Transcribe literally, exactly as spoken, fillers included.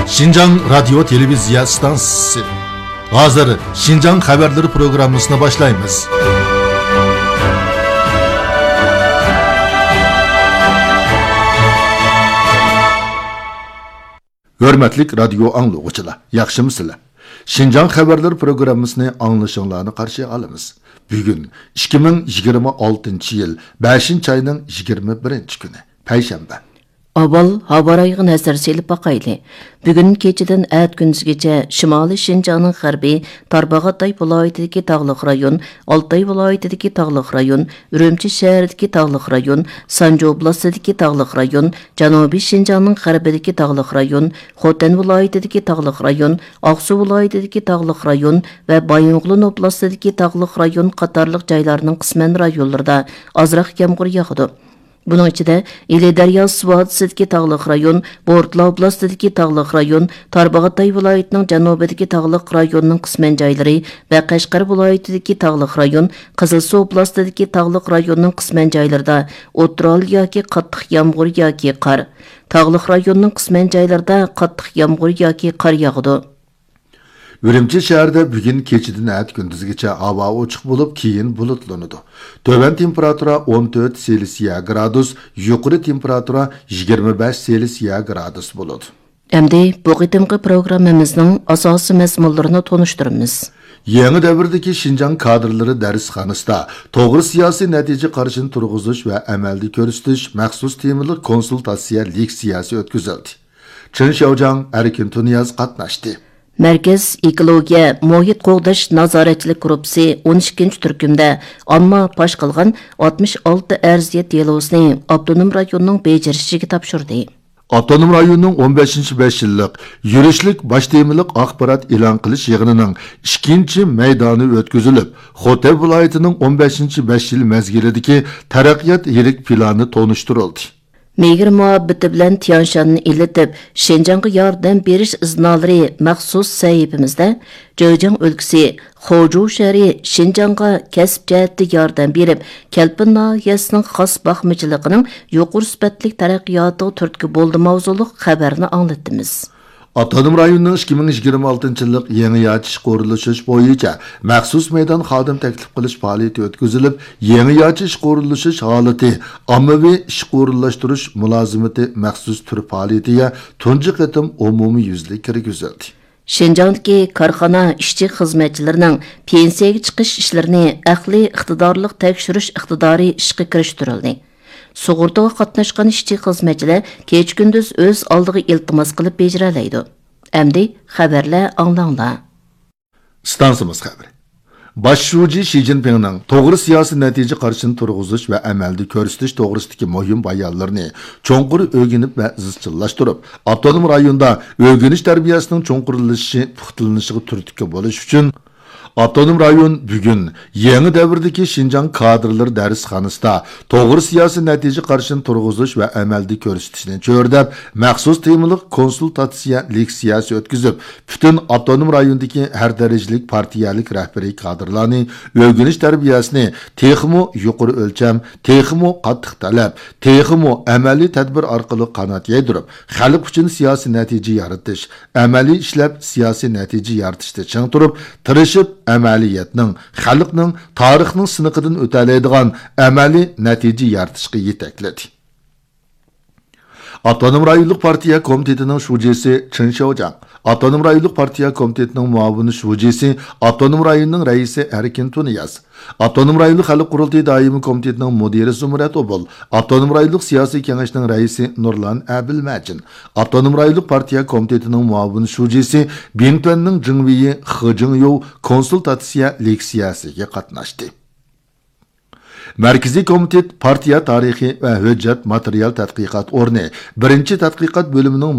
شىنجاڭ رادىيو تېلېۋىزىيە ئىستانسىسى. ھازىر شىنجاڭ خەۋەرلىرى پروگراممىسىنى باشلايمىز. ھۆرمەتلىك رادىيو ئاڭلىغۇچىلار، ياخشىمۇسىلەر؟ شىنجاڭ خەۋەرلىرى پروگراممىسىنى ئاڭلىشىڭلارنى قارشى ئالىمىز. بۈگۈن ئىككى مىڭ يىگىرمە ئالتىنچى يىل بەشىنچى ئاينىڭ يىگىرمە بىرىنچى كۈنى، پەيشەنبە. ئاۋۋال ھاۋا رايىغا نەزەر سېلىپ باقايلى. بۈگۈن كېچىدىن ئەتە كۈندۈزگىچە شىمالىي شىنجاڭنىڭ غەربى، تارباغاتاي ۋىلايىتىدىكى تاغلىق رايون، ئالتاي ۋىلايىتىدىكى تاغلىق رايون، ئۈرۈمچى شەھىرىدىكى تاغلىق رايون، سانجى ئوبلاستىدىكى تاغلىق رايون، جەنۇبىي شىنجاڭنىڭ غەربىدىكى تاغلىق رايون، خوتەن ۋىلايىتىدىكى تاغلىق رايون، ئاقسۇ ۋىلايىتىدىكى تاغلىق رايون ۋە بايىنغولىن ئوبلاستىدىكى تاغلىق رايون قاتارلىق جايلارنىڭ قىسمەن رايونلىرىدا ئازراق يامغۇر ياغىدۇ. بۇنىڭ ئىچىدە، ئىلى دەرياسى ۋادىسىدىكى تاغلىق رايون، بورتالا ئوبلاستىدىكى تاغلىق رايون، تارباغاتاي ۋىلايىتىنىڭ جەنۇبىدىكى تاغلىق رايوننىڭ قىسمەن جايلىرى ۋە قەشقەر ۋىلايىتىدىكى تاغلىق رايون، قىزىلسۇ ئوبلاستىدىكى تاغلىق رايوننىڭ قىسمەن جايلىرىدا، ئوتتۇرا ھال ياكى قاتتىق يامغۇر ياكى قار، تاغلىق رايوننىڭ قىسمەن جايلىرىدا قاتتىق يامغۇر ياكى قار ياغىدۇ. ئۈرۈمچى شەھىرىدە بۈگۈن كېچىدىن ئەتە كۈندۈزگىچە ھاۋا ئوچۇق بولۇپ، كېيىن بۇلۇتلىنىدۇ. تۆۋەن تېمپېراتۇرا ئون تۆت سېلسىيە گرادۇس، يۇقىرى تېمپېراتۇرا يىگىرمە بەش سېلسىيە گرادۇس بولىدۇ. ئەمدى بۇ قېتىمقى پروگراممىمىزنىڭ ئاساسىي مەزمۇنلىرىنى تونۇشتۇرىمىز. يېڭى دەۋردىكى شىنجاڭ كادىرلىرى دەرسخانىسىدا توغرا سىياسىي نەتىجە قارىشىنى تۇرغۇزۇش ۋە ئەمەلدە كۆرسىتىش مەخسۇس تېمىلىق كونسۇلتاتسىيە لېكسىيەسى ئۆتكۈزۈلدى. چېن شياۋجياڭ، ئەركىن تۇنىياز قاتناشتى. مەركەز ئېكولوگىيە، مۇھىت قوغداش نازارەتچىلىك گۇرۇپپىسى ئون ئىككىنچى تۈركۈمدە ئامما پاش قىلغان ئاتمىش ئالتە ئەرزىيەت دېلوسىنى ئاپتونوم رايوننىڭ بېجىرىشىگە تاپشۇردى. ئاپتونوم رايوننىڭ ئون بەشىنچى بەش يىللىق يۈرۈشلۈك باش تېمىلىق ئاخبارات ئېلان قىلىش يىغىنىنىڭ ئىككىنچى مەيدانى ئۆتكۈزۈلۈپ، خوتەن ۋىلايىتىنىڭ ئون بەشىنچى بەش يىل مەزگىلىدىكى تەرەققىيات يىرىك پىلانى تونۇشتۇرۇلدى. مېھىر مۇھەببىتى بىلەن تيانشاننى ئىللىتىپ، شىنجاڭغا ياردەم بېرىش ئىزنالىرى مەخسۇس سەھىپىمىزدە جېجياڭ ئۆلكىسى خوجۇ شەھىرى شىنجاڭغا كەسىپ جەھەتتە ياردەم بېرىپ، كەلپىن ناھىيەسىنىڭ خاس باقمىچىلىقىنىڭ يۇقىرى سۈپەتلىك تەرەققىياتىغا تۈرتكە بولدى ماۋزۇلۇق خەۋەرنى ئاڭلىتىمىز. ئاپتونوم رايوننىڭ ئىككى مىڭ يىگىرمە ئالتىنچى يىللىق يېڭىچە ئىشقا ئورۇنلىشىش بويىچە مەخسۇس مەيدان خادىم تەكلىپ قىلىش پائالىيىتى ئۆتكۈزۈلۈپ، يېڭىچە ئىشقا ئورۇنلىشىش ھالىتى ئاممىۋى ئىشقا ئورۇنلاشتۇرۇش مۇلازىمىتى مەخسۇس تۈر پائالىيىتىگە تۇنجى قېتىم ئومۇميۈزلۈك كىرگۈزۈلدى. شىنجاڭدىكى كارخانا ئىشچى-خىزمەتچىلىرىنىڭ پېنسىيەگە چىقىش ئىشلىرىنى ئەقلىي ئىقتىدارلىق تەكشۈرۈش ئىقتىدارى ئىشقا كىرىشتۈرۈلدى. سۇغۇرتىغا قاتناشقان ئىشچى-خىزمەتچىلەر كېچە-كۈندۈز ئۆز ئالدىغا ئىلتىماس قىلىپ بېجىرەلەيدۇ. ئەمدى خەۋەرلەر ئاڭلاڭلار. ئىستانسىمىز خەۋىرى. باش شۇجى شى جىنپىڭنىڭ توغرا سىياسىي نەتىجە قارىشىنى تۇرغۇزۇش ۋە ئەمەلدە كۆرسىتىش توغرىسىدىكى مۇھىم بايانلىرىنى چوڭقۇر ئۆگىنىپ ۋە ئىزچىللاشتۇرۇپ، ئاپتونوم رايوندا ئۆگىنىش تەربىيەسىنىڭ چوڭقۇرلىشىشى، پۇختىلىنىشىغا تۈرتكە بولۇش ئۈچۈن، ئاپتونوم رايون بۈگۈن يېڭى دەۋردىكى شىنجاڭ كادىرلىرى دەرسخانىسىدا توغرا سىياسىي نەتىجە قارىشىنى تۇرغۇزۇش ۋە ئەمەلدە كۆرسىتىشنى چۆرىدەپ، مەخسۇس تېمىلىق كونسۇلتاتسىيە لېكسىيەسى ئۆتكۈزۈپ، پۈتۈن ئاپتونوم رايوندىكى ھەر دەرىجىلىك پارتىيەلىك رەھبىرىي كادىرلارنى ئۆگىنىش تەربىيەسىنى تېخىمۇ يۇقىرى ئۆلچەم، تېخىمۇ قاتتىق تەلەپ، تېخىمۇ ئەمەلىي تەدبىر ئارقىلىق قانات يايدۇرۇپ، خەلق ئۈچۈن سىياسىي نەتىجە يارىتىش، ئەمەلىي ئىشلەپ سىياسىي نەتىجە يارىتىشتا چىڭ تۇرۇپ، تىرىشىپ ئەمەلىيەتنىڭ، خەلقنىڭ، تارىخنىڭ سىنىقىدىن ئۆتەلەيدىغان ئەمەلىي نەتىجە يارىتىشقا يېتەكلىدى. ئاپتونوم رايونلۇق پارتىيە كومىتېتىنىڭ شۇجىسى چېن شياۋجياڭ، ئاپتونوم رايونلۇق پارتىيە كومىتېتىنىڭ مۇئاۋىن شۇجىسى، ئاپتونوم رايوننىڭ رەئىسى ئەركىن تۇنىياز، ئاپتونوم رايونلۇق خەلق قۇرۇلتىيى دائىمىي كومىتېتىنىڭ مۇدىرى زۇمرەت ئوبۇل، ئاپتونوم رايونلۇق سىياسىي كېڭەشنىڭ رەئىسى نۇرلان ئەبىلمەجىن، ئاپتونوم رايونلۇق پارتىيە كومىتېتىنىڭ مۇئاۋىن شۇجىسى، بىڭتۈەننىڭ جېڭۋېيى خې جىڭيوۋ كونسۇلتاتسىيە لېكسىيەسىگە قاتناشتى. مەركىزىي كومىتېت پارتىيە تارىخى ۋە ھۆججەت ماتېرىيال تەتقىقات ئورنى بىرىنچى تەتقىقات بۆلۈمىنىڭ